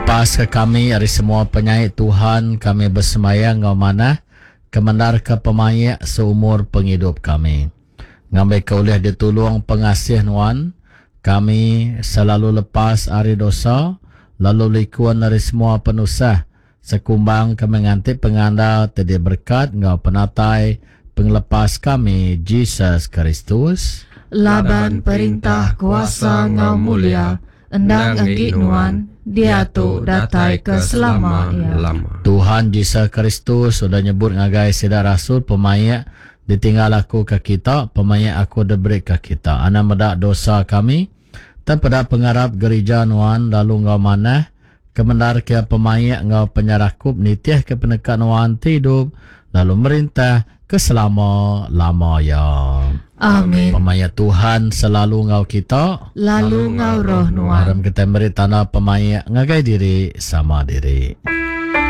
Lepaska kami ari semua penyai Tuhan, kami besemaya enggau manah kemendarka pemaik seumur pengidup kami. Ngambika ulih ditulung pengasih Nuan, kami selalu lepas ari dosa, lalu likun ari semua penusah, sekumbang kami nganti pengandal ti diberekat enggau penatai Pengelepas kami, Jesus Kristus. Laban perintah, kuasa enggau mulia endang enggi Nuan, diatu datai ke selama iya. Tuhan Jesus Kristus udah nyebut ngagai sida rasul pemaik ditinggal aku ke kita, pemaik aku diberi ke kita. Anang meda dosa kami, tang peda pengarap gerija Nuan lalu enggau manah kemendarka iya pemaik enggau penyerakup nitihka peneka Nuan ti idup lalu merintah ke selama-lama iya. Amin. Pemaik Tuhan selalu enggau kita. Lalu enggau roh nuan. Aram kita meri tanda pemaik ngagai diri sama diri.